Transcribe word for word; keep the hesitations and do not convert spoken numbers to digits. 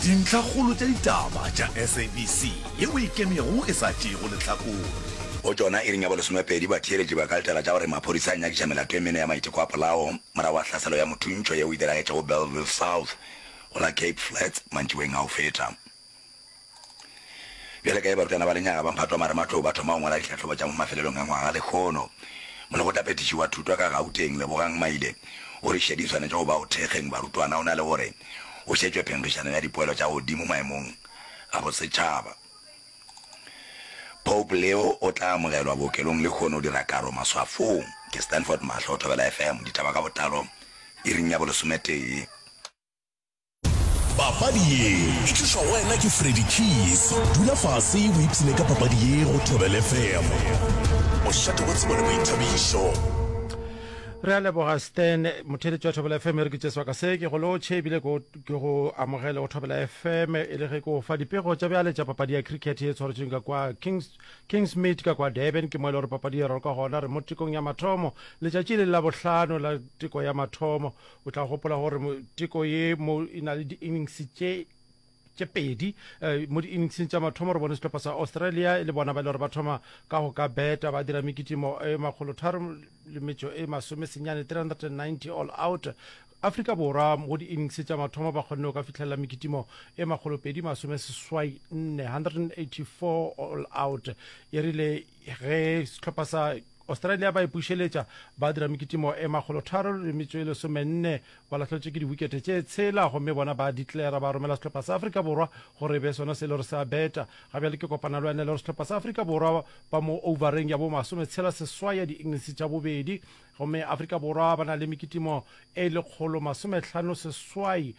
Dintlhakgolo tša ditaba tša S A B C yeo e ikemego e sa tšeego lehlakore. Go tšona, iring ya bolesomepedi, batheeletši ba ka letela tša gore maphodisa a nyakiša melato e mene ya maiteko a polao morago ga hlaselo ya mothuntšho yeo e diragetšego Bellville South go la Cape Flats mantšiboeng a go feta. Bjale ka ge barutwana ba lenyaga ba mphato wa marematlou ba thoma go ngwala dihlahlobo tša mo mafelelong a ngwaga lehono, Molekgotlaphethiši wa thuto ka Gauteng, Lebogang Maile, o re šedi e swanetše go ba go thekgeng barutwana go na le gore go šetšwe phenkgišano ya dipoelo tša godimo maemong a bosetšhaba. Pope Leo o tla amogelwa bookelong lehono o dira karo maswafong. Ke Stanford Mahlo, Thobela F M, ditaba ka botlalo iring ya bolesometee. Papadi ye e tlišwa go wena ke Freddy Keys. Dula fase o ipshine ka papadi ye go Thobela F M. Mošate wa tsebo le boithabišo. Re a leboga Stan, motheeletši wa Thobela F M, e re ke tše sebaka se ke go lotšhe ebile ke go amogele go Thobela F M e le ge ke go fa dipego tša bjale tša papadi ya cricket ye tshwaretšweng ka kwa Kings Kingsmead ka kwa Durban. Ke mo e le gore papadi e raloka gona. Re mo tekong ya mathomo, letšatši le la bohlano la teko ya mathomo. O tla gopola gore teko ye mo e na le di-innings tše tše pedi. eh, mo di-inningseng tša mathomo re bone sehlopha sa Australia e le bona ba e le gore ba thoma ka go ka beta, ba dira mekitimo e makgolo tharo le metšo e masome senyane, three hundred and ninety all out. Afrika Borwa go di-innings tša mathomo ba kgonne go ka fihlelela mekitimo e makgolo pedi masome seswai nne, one hundred eighty-four all out. E rile ge sehlopha sa Australia ba ipušeletša, ba dira mekitimo e makgolo tharo le metšo e lesomenne, ba lahletšwe ke diwikete tše tshela, gomme bona ba declara, ba romela sehlopha sa Afrika Borwa gore e be sona se le gore se a beta. Ga bjale ke kopana le wena le gore sehlopha sa Afrika Borwa ba mo overeng ya bo masometshela seswai ya di-innings tša bobedi, gomme Afrika Borwa ba na le mekitimo e lekgolo masomehlano seswai.